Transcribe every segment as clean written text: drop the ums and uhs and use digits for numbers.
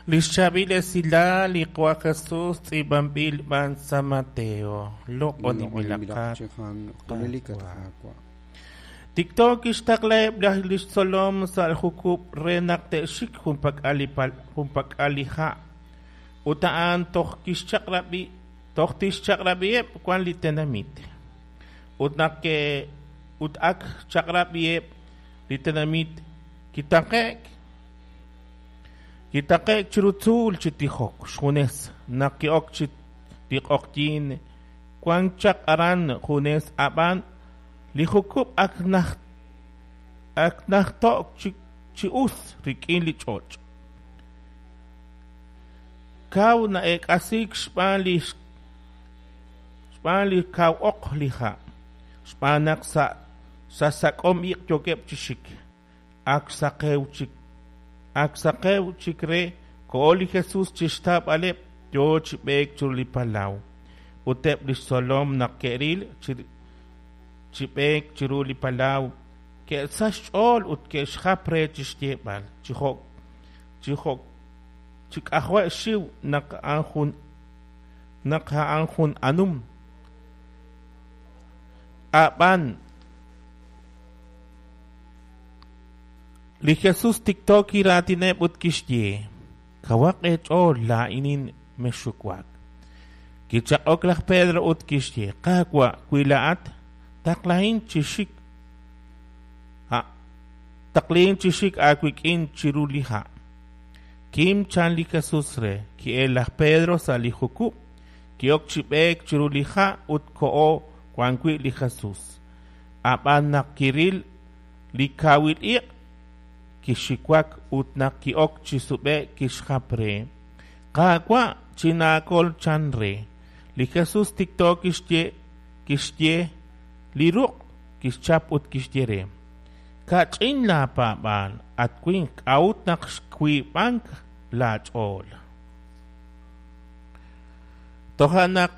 Li xchaab'il esilal li Qaawa' Jesus tz'iib'anb'il b'an sa' Mateo. Loq'oninb'ilaqat, Qaawa'. Tikto kixtaqlaheb' li xtzolom sa' jukub' re naq te'xik junpak'al li ha', ut a'an toj tixchaq'rab'iheb' wan li tenamit. Ut naq ut ak xchaq'rab'iheb' li tenamit, kitaqe'k Kitaqe'k chiru tzuul chi tijok xjunes. Naq ki'ok chi li q'oqyink, wank chaq aran junes, ab'an li jukub' ak najto'k chi us rik'in li ch'och'. Kaw na'eek'asiik xb'aan li kaw oq li ha', xb'aan naq sa' sak'om iq' yookeb' chi xik. Ak saqew chik re, koho li Jesus chi xtawb'aleb', yo chi b'eek chiru li palaw. Ut eb' li xtzolom naq ke'ril chi b'eek chiru li palaw, ke'sachk xch'ool ut ke'xjap re chi xyeeb'al chi k'ajo' xxiw naq a'an jun anum. Ab'an li Jesus tikto kiraatineb' ut kixye: Kawaq eech'ool, laa'inin, mexxuwak. Kichaq'ok laj Pedro ut kixye: Qaawa', wi laa'at, taqlahin chi xik aawik'in chiru li ha'. Kim, chan li Jesus re. Ki'elk laj Pedro sa' li jukub', ki'ok chi b'eek chiru li ha' ut koho wan wi' li Jesus. Ab'an naq kiril li kawil iq', kixiwak ut naq ki'ok chi sub'e'k kixjap re: Qaawa', chinaakol, chan re. Li Jesus tikto kixye li ruq', kixchap ut kixye re: Kach'in laapaab'aal, at winq, k'a'ut naq xwiib'ank laach'ool? Toja' naq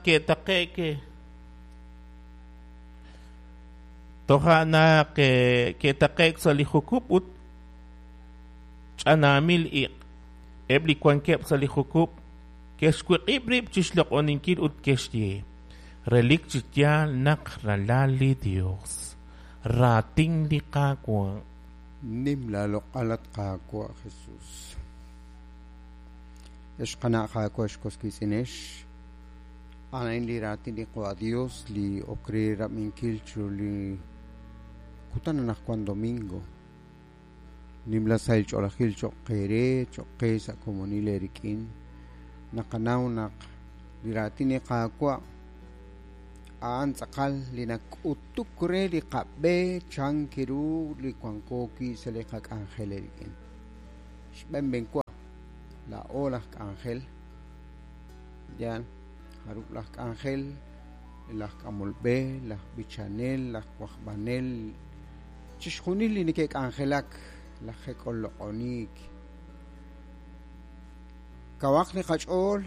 ke'taqe'k sa' li jukub' ut ch'anaamil iq'. Eb' li wankeb' sa' li jukub' ke'xwiq'ib' rib' chi xloq'oninkil ut ke'xye: Relik chi yaal naq ralal li Yos. Raatin li Qaawa'. Nim laaloq'al, at Qaawa' Jesus. Ex qana' Qaawa', ex was wiitz'inex, a'an li raatin li Qaawa' Dios li ok re rab'inkil chiru li kutan anaqwan domingo. Nimla sahil ch'oolejil cho'q qe re, cho'q qe sa' komonil eerik'in. Naqanaw naq li raatin li Qaawa' a'an tz'aqal li nak'utuk re li qab'e chan kiru li wanko wi' sa' li qak'anjel eerik'in. Xb'enb'enwa laa'o laj k'anjel, yaal jarub' laj k'anjel, laj k'amolb'e, laj b'ichanel, laj wajb'anel, chixjunil li neke'k'anjelak, laj jek'ol loq'oniik. Kawaq li qach'ool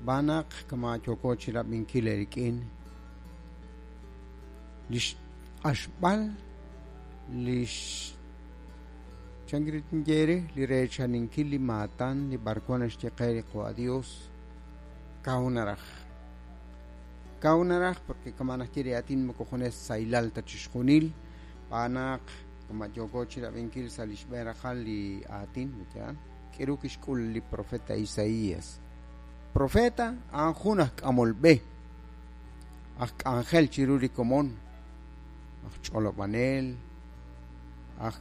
b'anaq kama yooko chi rab'inkil eerik'in li xq'axb'al li xchankiritnyere li reechaninkil li maatan li b'arwan naxye qe li Qaawa' Dios kaw naraj. Kaw naraj porque kama naxye li aatin moko junes saylal ta chixjunil b'anaq kama yooko chi rab'inkil sa' li xb'een raqal li aatin yaal k'iru kixk'ul li profeta Isaías. Profeta a'an jun aj k'amolb'e, aj k'anjel chiru li komon, aj ch'olob'anel, aj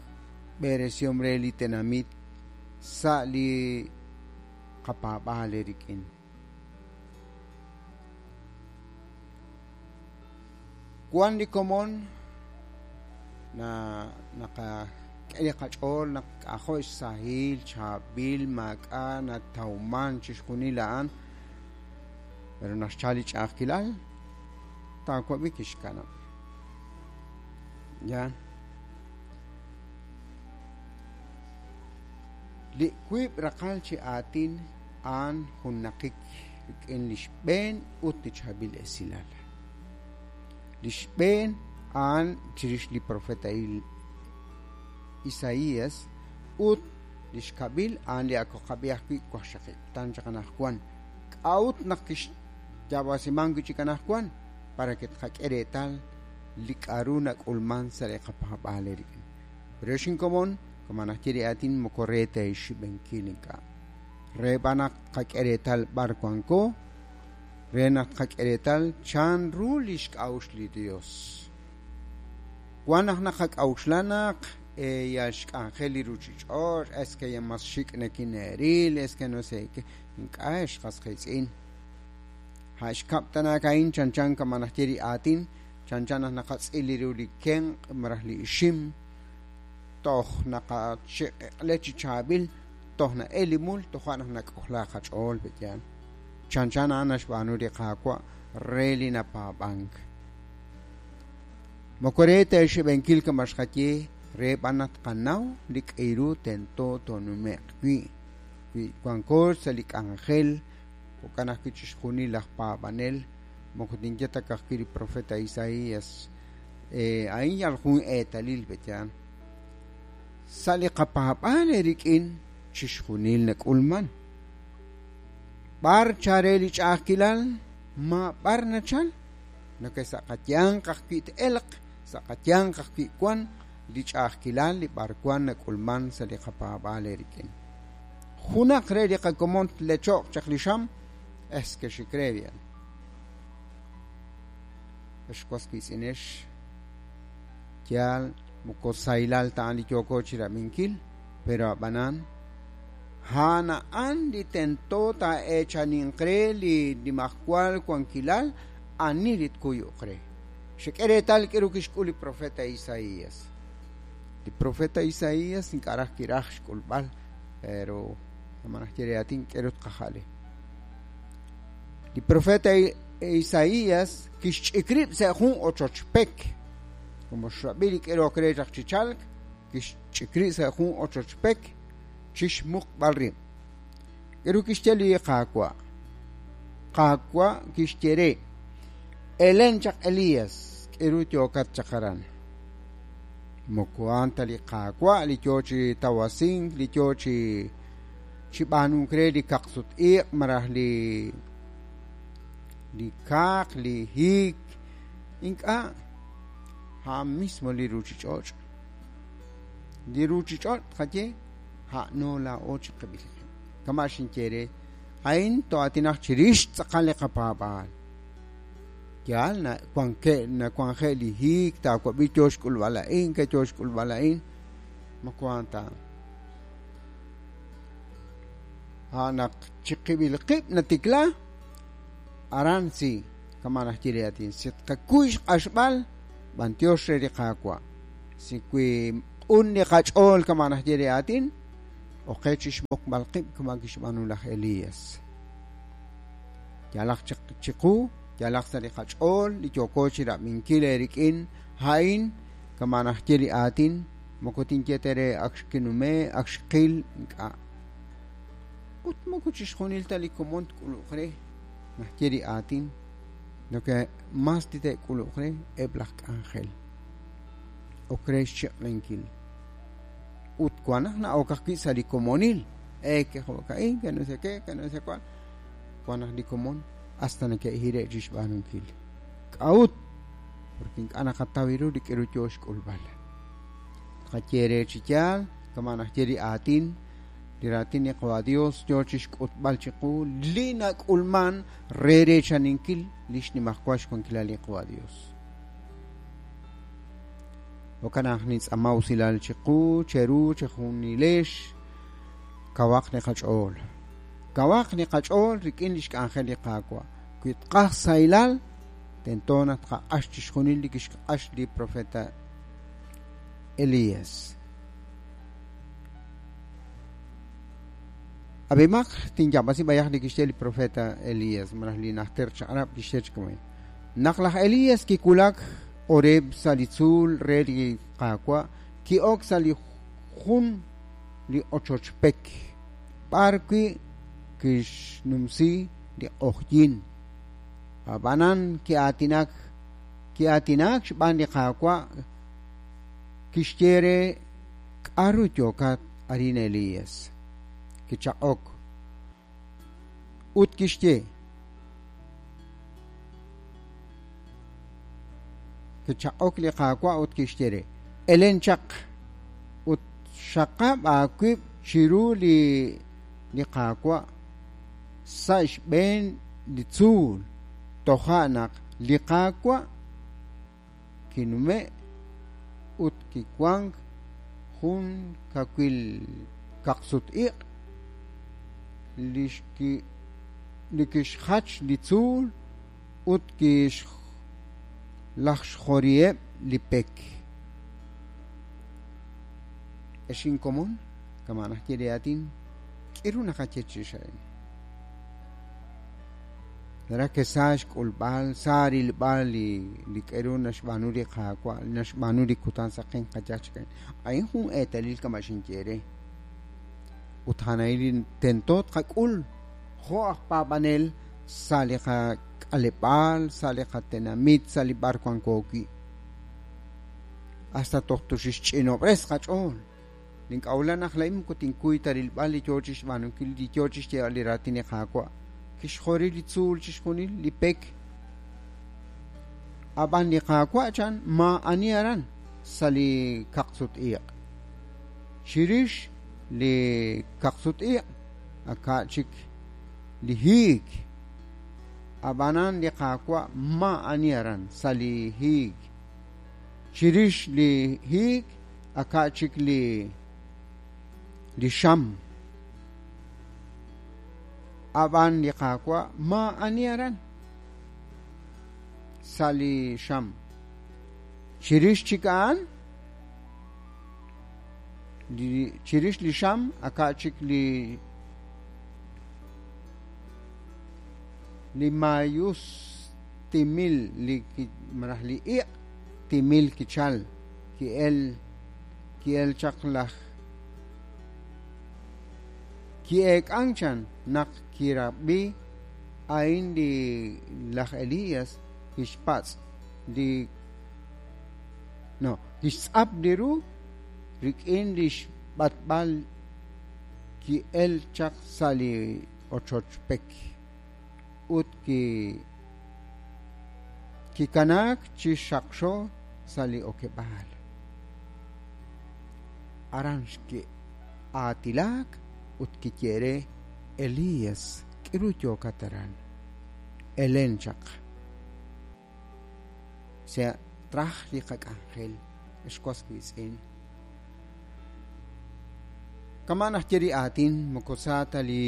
b'eresihom re li tenamit sa' li qapaab'aal eerik'in. Wan li komon naqak'e li qach'ool naq k'ajo' xsahil, chaab'il, maak'a' natawman chixjunil a'an, pero naq xchal li ch'a'ajkilal taawab'i kixkanab'. Ya. Li wiib' raqal chi aatin a'an junnaqik rik'in li xb'een ut li chaab'il esilal. Li xb'een a'an chirix li profeta Isaías ut Li xkab'il a'an li ak qab'i ajwi' waqxaqib' kutan chaq anaqwan. K'a'ut naq kixyaab'asiman wi' chik anaqwan? Para que tqak'e reetal li k'a'ru nak'ulman sa' li qapaab'aal eerik'in. Pero xinkomon, kama naxye li aatin moko re ta xxib'enkil ink'a'. Re b'an naq tqak'e reetal b'ar wanko, re naq tqak'e reetal chanru li xk'a'uxl li Dios. Wan naq naqak'a'uxla naq yal xk'anjel li ruchich'och', es que ya mas xik' nakine'ril, es que no sé qué. Ink'a' ex qas qiitz'in. Ha' xkab' tanaak a'in chanchan kama naxye li aatin, chanchan naq naqatz'il li ru li kenq' malaj li ixim, toj naqachiq'iq'le chi chaab'il, toj na'el li mul, toja' naq nak'ojla qach'ool pe'yaal. Chanchan a'an naxb'aanu li Qaawa' re li napaab'ank. Moko re ta xib'enkil kama xqaye, re b'an naq tqanaw li k'iru tento toonume'q wi'. Wi wanko sa' li k'anjel, jo'kan ajwi' chixjunil laj paab'anel, moko tinye ta ka'ajwi' li profeta Isaías, a'in yal jun eetalil pe'yaal. Sa' li qapaab'aal eerik'in chixjunil nak'ulman. B'ar chare li ch'a'ajkilal, ma b'ar nachal, noke sa' qayanq ajwi' t'elq, sa' qayanq ajwi' wan li ch'a'ajkilal li b'ar wan nak'ulman sa' li qapaab'aal eerik'in. Junaq re li qakomon tlecho'q chaq li xam, es que xik re bien. Ex was wiitz'inex, yaal moko saylal ta'an li yooko chirab'inkil, pero ab'anan a'an a'an li tento taa'eechaninq re li nimajwal wankilal ani li tkuyuq re. Xek'e reetal k'aru kixk'ul li profeta Isaías. Li profeta Isaías ink'a' raj kiraj xk'ulb'al, pero kama naxye li aatin k'aru tqaja'le. Li profeta Isaías kixch'ik rib' sa' jun ochoch pek, como xrab'i li k'aru ok re chaq chi chalk, kixch'ik rib' sa' jun ochoch pek chixmuqb'al rib'. K'aru kixye li Qaawa'? Qaawa' kixye re, Elen chaq Elías, k'aru yookat chaq aran. Moko a'an ta li Qaawa' li yoo chi tawasink, li yoo chi b'aanunk re li kaqsut-iq' malaj li kaaq, li hiik. Ink'a', a'an mismo li ruchich'och'. Li ruchich'och' tqaye, a'no laa'o chiqib'il qib'. Kama xinye re, a'in to'atinaq chirix tz'aqal li qapaab'aal. Yaal nawanje' li hiik, taawab'i yoo xk'ulb'al a'in, ke yoo xk'ulb'al a'in. Moko a'an ta. A'an naq chiqib'il qib' natikla, aran si, kama naxye li aatin, si tqakuy xq'axb'al, b'antiox re li Qaawa'. Si wi q'un li qach'ool kama naxye li aatin, oqe chixmuqb'al qib' kama kixb'aanu laj Elías. Yalaq chiqu, yalaq sa' li qach'ool, li yooko chirab'inkil eerik'in, a'in kama naxye li aatin, moko tinye ta re ak xkinume, ak xqil, ink'a'. Ut moko chixjunil ta li komon tk'uluq re, naxye li aatin, noke mas ti te'k'uluq re eb' laj k'anjel. Ok re xchiq'lenkil. Ut wan naq na'ok ajwi' sa' li komonil, ke jo'ka'in, ke no sé qué, ke no sé cuál. Wan naq li komon hasta neke'hire' chixb'aanunkil. K'a'ut? Porque ink'a' naqataw ru li k'aru yoo xk'ulb'al. Tqaye re chi yaal, kama naxye li aatin, li raatin li Qawa Dios yoo chixk'utb'al chiqu li nak'ulman re reechaninkil li xnimajwal xwankilal li Qawa Dios. Jo'kan naq nintz'aama usilal chiqu, cheru, chejunilex, kawaq li qach'ool. Kawaq li qach'ool rik'in li xk'anjel li Qaawa'. Wi tqaj saylal, tento naq tqaq'ax chixjunil li kixq'ax li profeta Elías. Ab'imaq tinyaab'asi b'ayaq li kixye li profeta Elías, malaj li najter chaq'rab' kixye chi kama'in. Naq laj Elías kiwulak Horeb sa' li tzuul re li Qaawa', ki'ok sa' li jun li ochoch pek, b'ar wi' kixnumsi li q'ojyin. Ab'anan ki'aatinak xb'aan li Qaawa', kixye re k'aru yookat arin Elías. Kichaq'ok ut kixye, kichaq'ok li Qaawa' ut kixye re, Elen chaq ut xaqab' aawib' chiru li li Qaawa' sa' xb'een li tzuul. Toja' naq li Qaawa' kinume' ut kiwank jun kawil kaqsut-iq' li kixjach li tzuul ut kixlajxjoriheb' li pek. Ex inkomon, kama' naxye li aatin, k'iru naqaye chirix a'in? Naraj ke sa xk'ulb'al, sa rilb'al li li k'eru naxb'aanu li Qaawa', li naxb'aanu li kutan saqen qayaj chik a'in. A'in jun eetalil kama' xinye eere. Ut a'an a'in li tento tqak'ul jo' aj paab'anel sa' li qak'aleb'aal, sa' li qatenamit, sa' li b'ar wanko wi'. Hasta toj toxixch'inob'res qach'ool. Nink'a'uxla naq laa'in moko tinkuy ta rilb'al li yoo chixb'aanunkil, li yoo chixyeeb'al li raatin li Qaawa'. Kixjori li tzuul chixjunil, li pek. Ab'an li Qaawa' chan maa'ani aran sa' li kaqsut-iq'. Chirix li kaqsut-iq' aka' chik li hiik. Ab'anan li Qaawa' maa'ani aran sa' li hiik. Chirix li hiik aka' chik li li xam. Ab'an li Qaawa' maa'ani aran sa' li xam. Chirix chik a'an, li chirix li xam aka' chik li li maayus timil li malaj li iq' timil kichal ki'el ki'el chaq laj ki'eek'ank chan naq kirab'i a'in li laj Elías kixpatz' li no kixtz'ap li ru rik'in li xb'atb'al ki'el chaq sa' li ochoch pek ut ki kikanaak chi xaqxo sa' li okeb'aal. Aran xki'aatilaak ut kiye re, Elías, k'iru yookat aran? Elen chaq. Sea traj li qak'anjel, ex was wiitz'in. Kama' naxye li aatin, moko sa ta li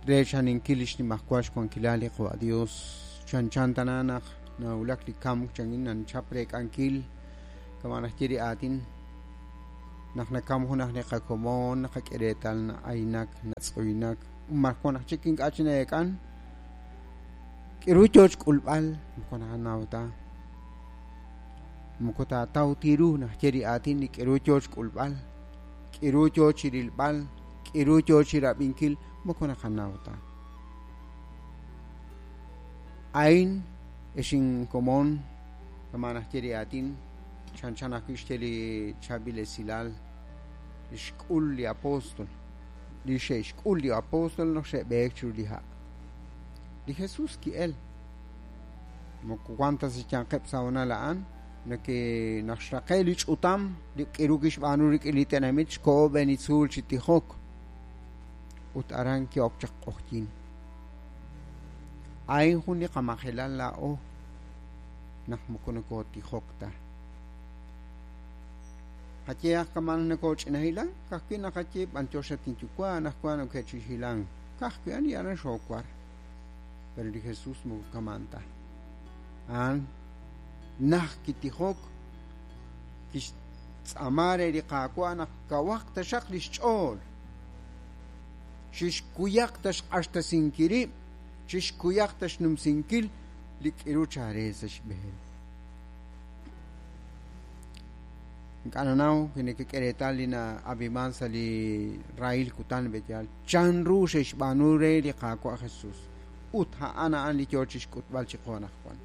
reechaninkil li xnimajwal xwankilal li Qawa' Dios. Chanchan tana naq nawulak li kamk chankin nanchap reek'ankil. Kama' naxye li aatin, naq nakam junaq li qakomon, naqak'e reetal na'aynak, natz'uynak, maraj wan aj chik ink'a' chi na'eek'an. K'iru yoo xk'ulb'al moko naqanaw ta. Moko taataw ti ru naxye li aatin li k'iru yoo xk'ulb'al, k'iru yoo chi rilb'al, k'iru yoo chi rab'inkil, moko naqanaw ta. A'in ex inkomon, kama' naxye li aatin, chanchan ajwi' xye li chaab'il esilal li xk'ul li apóstol, li xe'xk'ul li apóstol naq xe'b'eek chiru li ha'. Li Jesús ki'el. Moko wan ta sa' xyanqeb' sa' hoonal a'an, nake naq xraqe' li ch'utam li k'iru kixb'aanu rik'in li tenamit xkoho b'een li tzuul chi tijok. Ut aran ki'ok chaq q'ojyin. A'in jun li qamajelal laa'o naq moko nokootijok ta. Qayehaq kama' naq nokooch'ina hilank, ka'ajwi' naqaye b'antiox at inyuwa' anaqwan oke'chi hilank. Ka'ajwi' ani aran xoowar. Pero li Jesús moko kama'an ta. A'an naj kitijok, kixtz'aama re li Qaawa' naq kawaq taxaq li xch'ool, chixkuyaq ta xq'axtesinkil rib', chixkuyaq ta xnumsinkil li k'iru chaalel sa' xb'een. Ink'a' nanaw wi nekek'e reetal li na'ab'iman sa' li rahil kutan b'eyal chanru xe'xb'aanu re li Qaawa' Jesús ut a'an a'an li yoo chixk'utb'al chiqu anaqwan.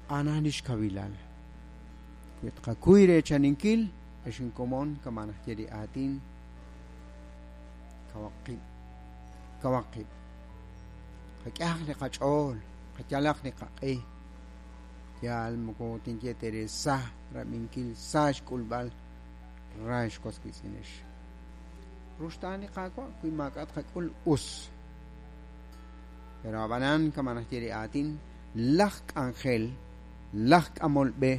A'an lix kawilal. Wi tqakuy reechaninkil, ex inkomon, kama' naxye li aatin, kawaq qib', kawaq qib'. Qak'ehaq li qach'ool, qayalaq li qaq'e. Yaal moko tinye teere sa rab'inkil, sa xk'ulb'al, ra ex was wiitz'inex. Ruxtaan li Qaawa' wi maak'a' tqak'ul us. Pero ab'anan kama' naxye li aatin, laj k'anjel, laj k'amol b'e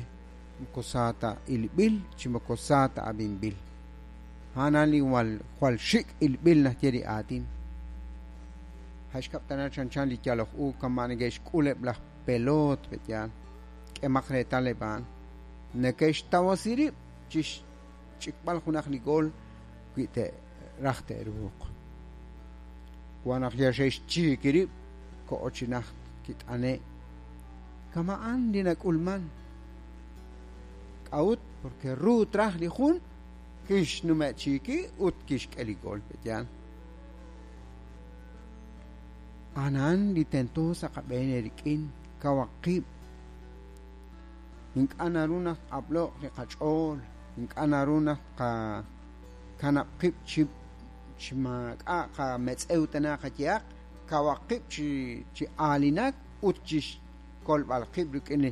moko sa ta ilb'il chi moko sa ta ab'inb'il. A'an li jwal xik' ilb'il naxye li aatin. Jaxkab' tana chanchan li yaloj u kama' neke'xk'ul eb' laj peloot pe'yaal. K'emaq reetal eb' a'an. Neke'xtawasi rib' chi xch'ikb'al junaq li gool wi te'raj te'ruuq. Wan naq ya xe'xchiiki rib' ko'o chi najt kit'ane'. Kama'an li nak'ulman. K'a'ut porque ru traj li jun kixnume'chiiki ut kixk'e li gool pe'yaal. Anan li tento sa' qab'een rik'in kawaq qib'. Ink'a' naru naq tq'ab'lo'q li qach'ool, ink'a' naru naq tqakanab' qib' chi maak'a' qametz'ew tana qayehaq, kawaq qib' chi aalinak ut chi xkolb'al qib' rik'in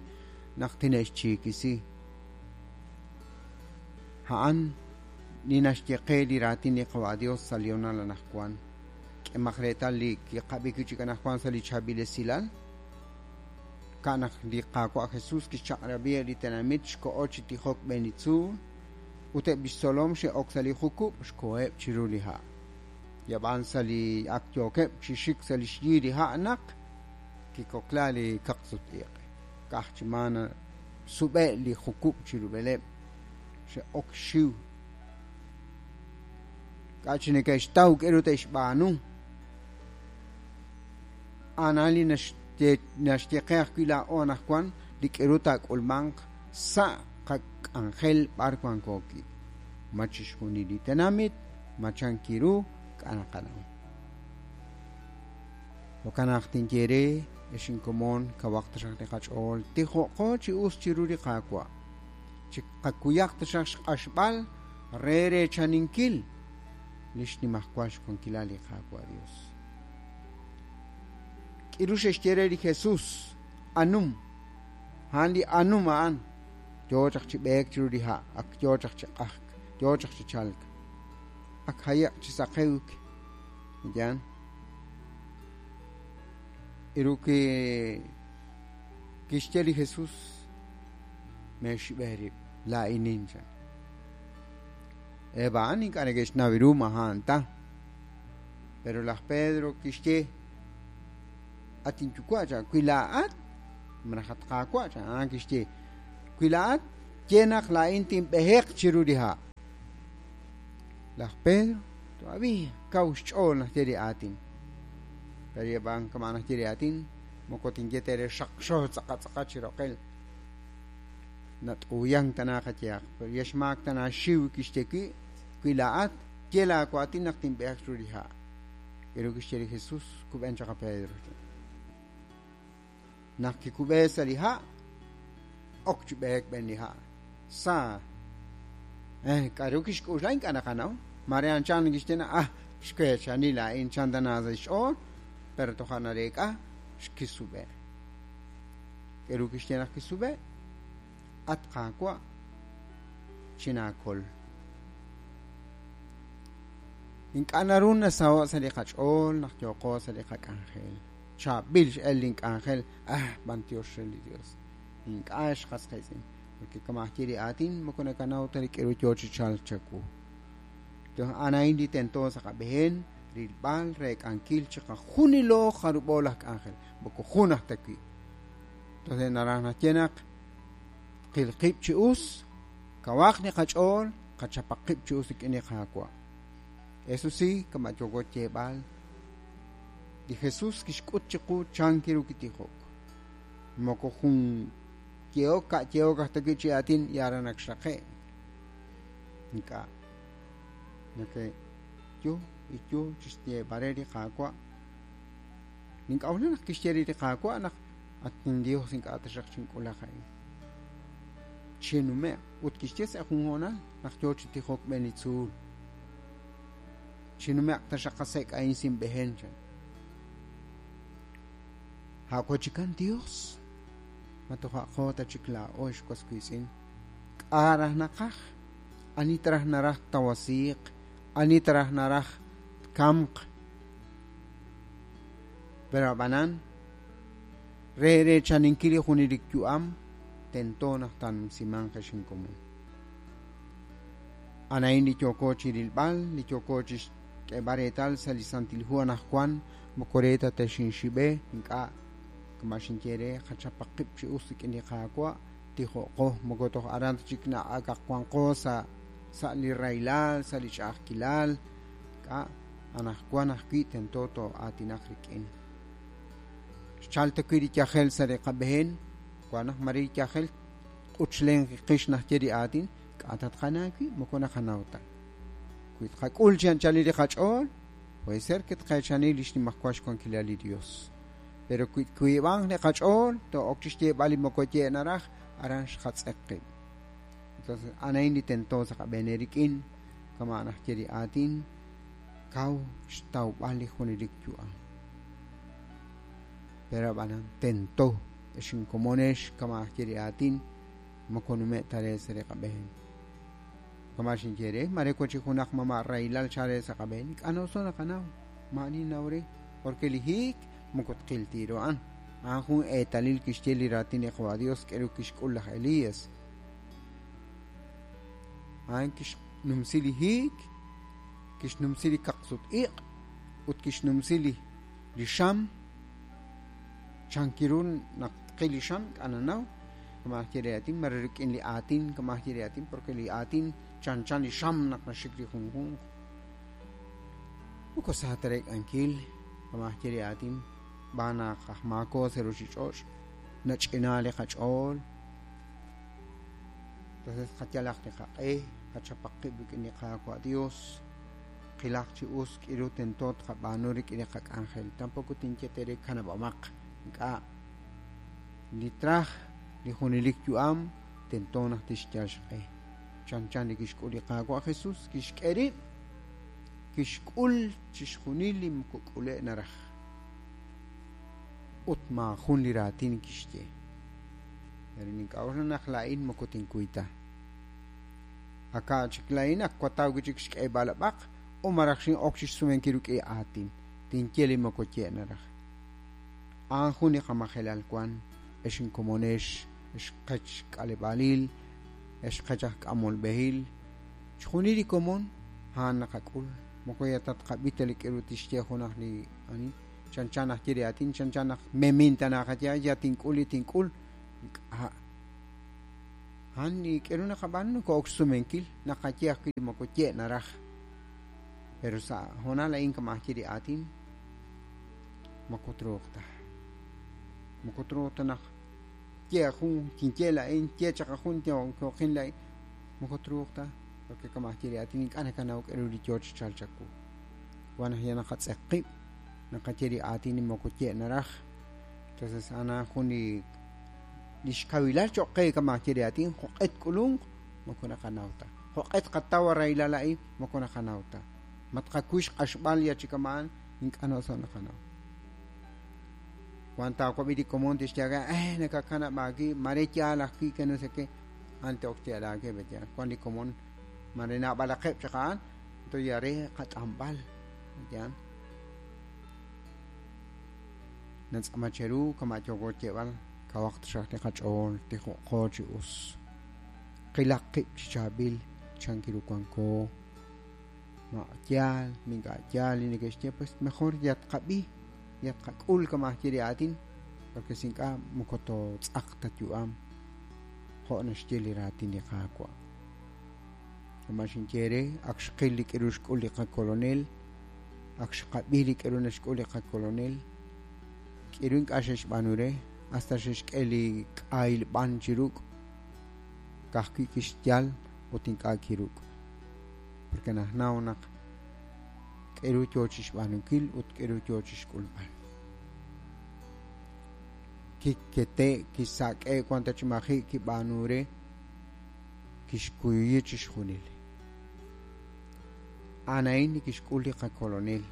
naq tine'xchiikisi. A'an li naxye qe li raatin li Qawa' Dios sa' li honal anaqwan. K'emaq reetal li kiqab'i wi' chik anaqwan sa' li chaab'il esilal. Ka'naq li Qaawa' Jesus kixchaq'rab'i li tenamit xko'o chi tijok b'een li tzuul ut eb' lix tzolom xe'ok sa' li jukub' xkoheb' chiru li ha'. Yab'an sa' li ak yookeb' chi xik sa' li xyi li ha' naq kikokla li kaqsut-iq'. Ka'aj chi maana sub'e' li jukub' chirub'eleb' xe'ok xiw. K'a' chi neke'xtaw k'e ru te'xb'aanu. A'an li naxye qe ajwi' laa'o anaqwan li k'e ru taak'ulmanq sa' qak'anjel b'ar wanko wi'. Ma chixjunil li tenamit, ma chankiru, k'a' naqanaw. Jo'kan naq tinye re ex inkomon kawaq taxaq li qach'ool, tijo'qo chi us chiru li Qaawa'. Chi qakuyaq taxaq xq'axb'al re reechaninkil li xnimajwal xwankilal li Qaawa' Dios. K'iru xe'xye re li Jesus, anum. A'an li anum a'an. Yo chaq chi b'eek chiru li ha', ak yo chaq chi q'ajk, yo chaq chi chalk. Ak haye'q chi saqewk. Yan. Iru kixye li Jesus, me'xib'e rib', laa'inin chan. Eb' a'an ink'a' neke'xnaw ru ma a'an ta. Pero laj Pedro kixye, at inyuwa' chan, wi laa'at, malaj at Qaawa' chan, a'an kixye, wi laa'at, ye naq laa'in tinb'eheq chiru li ha'. Laj Pedro todavía kaw xch'ool naxye li aatin. Pero yeb'an kama naxye li aatin, moko tinye tere xaqxo tz'aqa tz'aqa chiroqel. Nat'uyan tana qayehaq, pero yaxmaak tana xiw kixye wi, wi laa'at, ye laawaatin naq tinb'eheq chiru li ha'. K'e kixye li Jesus, kub'en chaq a Pedro. Naq kikub'e sa' li ha', ok chi b'eek b'een li ha'. Sa k'aru kixk'uxla ink'a' naqanaw. Mare anchan kixye na ah xweechani laa'in chan tana sa' xch'ool, pero toja' nareek'a xkisub'e. K'e kixye naq kisub'e, at Qaawa' chinaakol. Ink'a' naru nasaho' sa' li qach'ool naq yooqo sa' li qak'anjel. Chaab'il x'el link'anjel, ah b'antiox re li Dios. Ink'a' xqas qiitz'in, porque kama ajye li aatin moko nakanaw ta li k'e ru yoo chi chalk chawu. A'an li tento sa' qab'een rilb'al reek'ankil chiqajunilo jarub'o laj k'anjel, moko jun aj ta wi'. Entonces naraj naxye naq qil qib' chi us, kawaq li qach'ool, qachapaq qib' chi us rik'in li Qaawa'. Eso sí, kama yooko yeeb'al, li Jesus kixk'ut chiqu chan kiru kitijok. Moko jun yehok ka' yehok aj ta wi' chi aatin yara naq xraqe'. Ink'a'. Nake yo y yo chi xyeeb'al re li Qaawa'. Nink'a'uxla naq kixye re li Qaawa' naq at in Dios ink'a' taxaq chink'ulaq a'in. Chinume'q. Ut kixye sa' jun hoonal naq yoo chi tijok b'een li tzuul. Chinume'q taxaq qasek' a'in sinb'ehen, chan. A' chikan Dios, ma toja' ta chik laa'o ex was wiitz'in. K'a' raj naqaj, ani taraj naraj tawasiiq, ani taraj naraj tkamq. Pero ab'anan, re reechaninkil li junelik yu'am, tento naq taanumsimanq ex inkomon. Anain li yooko chi rilb'al, li yooko chi xk'eeb'al reetal sa' li Santil Hu anaqwan, moko re ta texinxib'e, ink'a' kama xinye re qachapaq qib' chi us rik'in li Qaawa', tijo'qo, moko toj aran ta chik na'akaq wanqo sa' sa' li rahilal, sa' li ch'a'ajkilal, k'a' anaqwan ajwi' tento too'aatinaq rik'in. Xchalta wi' li yajel sa' li qab'een, wan naq mare li yajel q'uchlen qix najye li aatin, k'a' tatqana wi' moko naqanaw ta. Wi tqak'ul chi anchalil li qach'ool, puede ser que tqeechani li xnimajwal xwankilal li Dios. Pero wi twiib'anq li qach'ool, to'ok chi xyeeb'al li moko ye' naraj, aran xqatz'eq qib'. Entonces, anain li tento sa' qab'een rik'in, kama najye li aatin, kaw xtawb'al li junelik yu'am. Pero ab'anan tento ex inkomonex kama najye li aatin, moko nume' ta re sa' li qab'een. Kama xinye re, mare wan chi junaq mama' rahilal chale sa' qab'een, ink'a' noso naqanaw, ma'ani naw re, porque li hiik moko tqil tiro a'an. A'an jun eetalil kixye li raatin li Qawa' Dios k'eru kixk'ul laj Elías. A'an kixnumsi li hiik, kixnumsi li kaqsut-iq', ut kixnumsi li li xam. Chankiru naq tqil li xam, ink'a' nanaw, kama najye li aatin, mare rik'in li aatin, kama najye li aatin, porque li aatin chanchan li xam naq naxik li junjunq. Moko sa ta reek'ankil, kama najye li aatin, b'aan naq aj maako sa' ruchich'och', nach'ina li qach'ool. Entonces qayalaq li qaq'e, qachapaq qib' rik'in li Qaawa' Dios, qilaq chi us k'iru tento tqab'aanu rik'in li qak'anjel. Tampoco tinye tere kanab'amaq, ink'a' li traj li junelik yu'am tento naq tixyal xq'e. Chanchan li kixk'ul li Qaawa' Jesus, kixk'e rib', kixk'ul chixjunil li moko k'ule' naraj. Ut maajun li raatin kixye. Pero nink'a'uxla naq laa'in moko tinkuy ta. Aka' chik laa'in ak wataw wi' chik xk'eeb'al ab'aq, o maraj xin'ok chixsumenkil rik'in aatin. Tinye li moko ye' naraj. A'an jun li qamajelal wan, ex inkomonex, ex qech k'aleb'aalil, ex qech aj k'amolb'ehil. Chixjunil li komon a'an naqak'ul. Moko ya ta tqab'i ta li k'eru tixye junaq li ani. Chanchan najye li aatin, chanchan naq memin ta naqaye, ya tink'ul li tink'ul. Ink'a'. A'an li k'eru naqab'aanu noko'ok xsumenkil, naqaye ajwi' li moko ye' naraj. Pero sa' hoonal a'in kama ajye li aatin, moko truuq ta. Moko truuq ta naq ye jun kinye laa'in, ye chaq jun yooqin laa'in, moko truuq ta, porque kama ajye li aatin ink'a' nakanaw k'eru li yoo chi chalk chawu. Wan naq ya naqatz'eq qib', naqaye li aatin li moko ye' naraj. Entonces ana jun li xkawilal cho'q qe kama ajye li aatin, jo'q'e tk'ulunq, moko naqanaw ta. Jo'q'e tqataw rahilal a'in, moko naqanaw ta. Ma tqakuy xq'axb'al ya chi kama'an, ink'a' noso naqanaw. Wan taawab'i li komon tixye nakakanab' aawib', mare yaal ajwi' que no sé qué. Ante ok tiyal aawib', ya. Wan li komon, mare naab'alaqeb' chaq a'an, entonces ya re qat'amb'al, ya. Natz'ama cheru kama yooko xyeeb'al, kawaq taxaq li qach'ool, tijo'qo chi us. Qilaq qib' chi chaab'il, chankiru wanko. Ma yaal, ink'a' yaal li neke'xye, pues mejor ya tqab'i, ya tqak'ul kama ajye li aatin, porque si ink'a' moko tootz'aq ta yu'am, jo' naxye li raatin li Qaawa'. Kama xinye re, ak xqil li k'eru xk'ul li qakolonel, ak xqab'i li k'eru naxk'ul li qakolonel, k'eru ink'a' xe'xb'aanu re, hasta xe'xk'e li k'ahil b'an chi ruk', ka'ajwi' kixyal ut ink'a' kiruk'. Porque najnaw naq k'eru yoo chixb'aanunkil ut k'eru yoo chixk'ulb'al. Kikete' kisak'e wan ta chi maji' kib'aanu re. Kixkuyuyi chixjunil. A'an a'in li kixk'ul li qakolonel.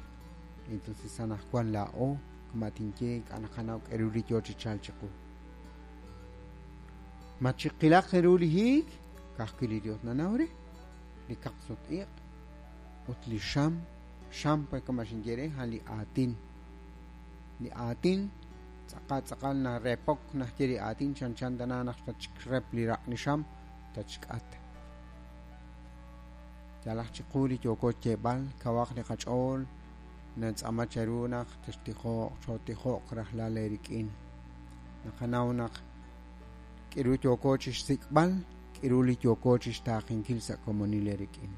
Entonces anaqwan laa'o kama' tinye ink'a' naqanaw k'aru li yo chi chalk chiqu. Ma chiqilaq ru li hiik? Ka'ajwi' li Dios nanaw re. Li kaqsut-iq' ut li xam, xam pa kama' xinye re a'an li aatin. Li aatin tz'aqal tz'aqal narepok naxye li aatin chanchan tana naq tatxrep li raq' li xam tatxk'at. Yalaq chiqu li yooko xyeeb'al kawaq li qach'ool natz'aama cheru naq textijoq chootijoq rajlal eerik'in. Naqanaw naq k'iru yooko chixsik'b'al, k'iru li yooko chixtaaqenkil sa' komonil eerik'in.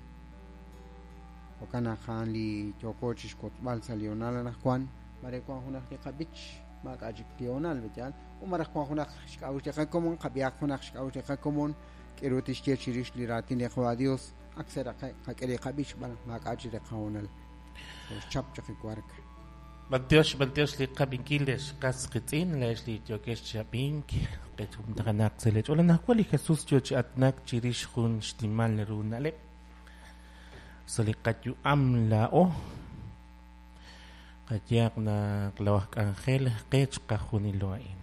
Jo'kan naq a'an li yooko chixwotzb'al sa' li hoonal anaqwan, mare wan junaq li qab'ich, maak'a' chik li hoonal, yaal, u malaj wan junaq xk'a'uxl li qakomon, qab'ihaq junaq xk'a'uxl li qakomon, k'iru tixye chirix li raatin li Qawa' Dios, ak seraqe' qak'e li qab'ich xb'aan naq maak'a' chik li qahoonal. Xchap chaq li wark. B'antiox, b'antiox li qab'inkil lex qas qitz'in, lex li yookex chi ab'ink, qechumtajanaq sa' lech'ool. Anaqwan li Jesus yo chi aatinak chirix jun xnimal ru na'leb' sa' li qayu'am laa'o. Qayehaq naq lawaj k'anjel qech qajunilo a'in.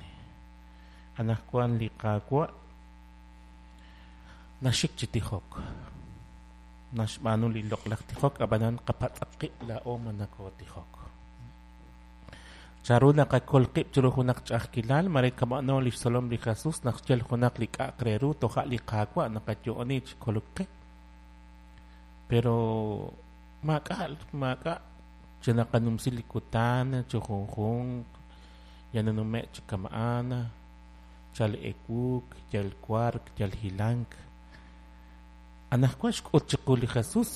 Anaqwan li Qaawa' naxik chi tijok. Naxb'aanu li loq'laj tijok, ab'anan qapatz'aq qib' laa'o ma nakootijok. Chanru naqakol qib' chiru junaq ch'a'ajkilal, mare kama'no li xtzolom li Jesus naq xyal junaq li k'a'aq re ru toja' li Qaawa' naqayo'oni chi kolok qe. Pero maak'a' maak'a' chi naqanumsi li kutan chi junjunq yal nanume' chi kama'an, chal ewuk, yal wark, yal hilank. Anaqwan xk'ut chiqu li Jesus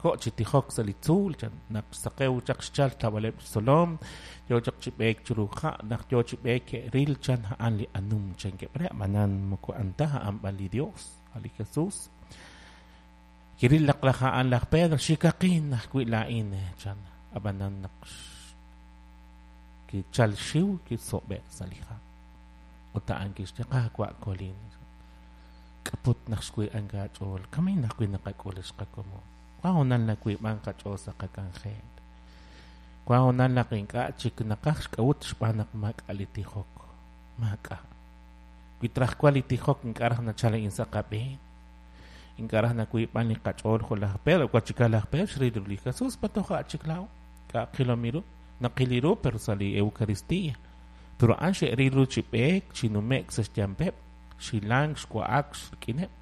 ko' chi tijok sa' li tzuul, chan naq xsaqew chaq xchal tawaleb' xtzolom, yo chaq chi b'eek chiru ha', naq yo chi b'eek ke'ril chan a'an li anum chankeb' re, ab'anan moko a'an ta a'an b'an li Dios, a' li Jesus. Kiril naq laj a'an laj Pedro, xikaqin ajwi' laa'in, chan, ab'anan naq kichal xiw kisob'e' sa' li ha'. Ut a'an kixye, Qaawa' kolin. K'aput naq xwiib'ank aach'ool, kamain ajwi' naqak'ul ex qakomon. Wan hoonal nawiib'ank qach'ool sa' qak'anjel. Wan hoonal naq ink'a' chik naqaj xk'a'ut xb'aan naq maak'a' li tijok. Maak'a'. Wi traj wan li tijok ink'a' raj nachal a'in sa' qab'een. Ink'a' raj nawiib'an li qach'ool jo' laj Pedro, wachika laj Pedro xril ru li Jesus, pa toja' chik laa'o. K'a' qilom ru, naqil ru pero sa' li Eucaristía. Pero a'an xe'ril ru chi b'eek, chi nume'k sa' xyampeb', xilank, xwa'ak, xrik'ineb'.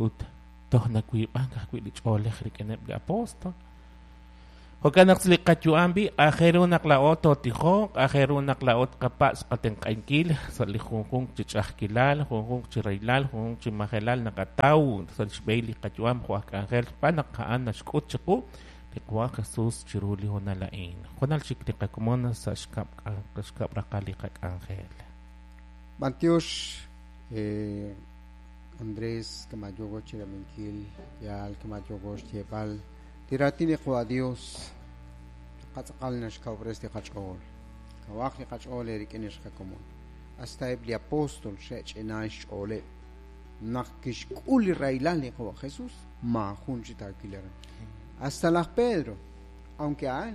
Ut toj nawiib'ank ajwi' li ch'oolej rik'ineb' li apóstol. Jo'kan naq li qayu'am b'i' aajel ru naq laa'o tootijoq, aajel ru naq laa'o tqapatz' qatenq'ankil sa' li junjunq chi ch'a'ajkilal, junjunq chi rahilal, junjunq chi majelal naqataw sa' xb'ehil li qayu'am jo' aj k'anjel xb'aan naq a'an naxk'ut chiqu li Qaawa' Jesus chiru li hoonal a'in. Junal chik li qakomon sa' xkab' raqal li qak'anjel. B'antiox Andrés kama' yooko chirab'inkil, yaal kama' yooko xyeeb'al li raatin li Qawa' Dios qatz'aqal naxkawub'res li qach'ool. Kawaq li qach'ool eerik'in ex qakomon. Hasta eb' li apóstol xe'ch'inaa xch'ooleb' naq kixk'ul li rahilal li Qawa' Jesus, maajun chi taawil aran. Hasta laj Pedro, aunque a'an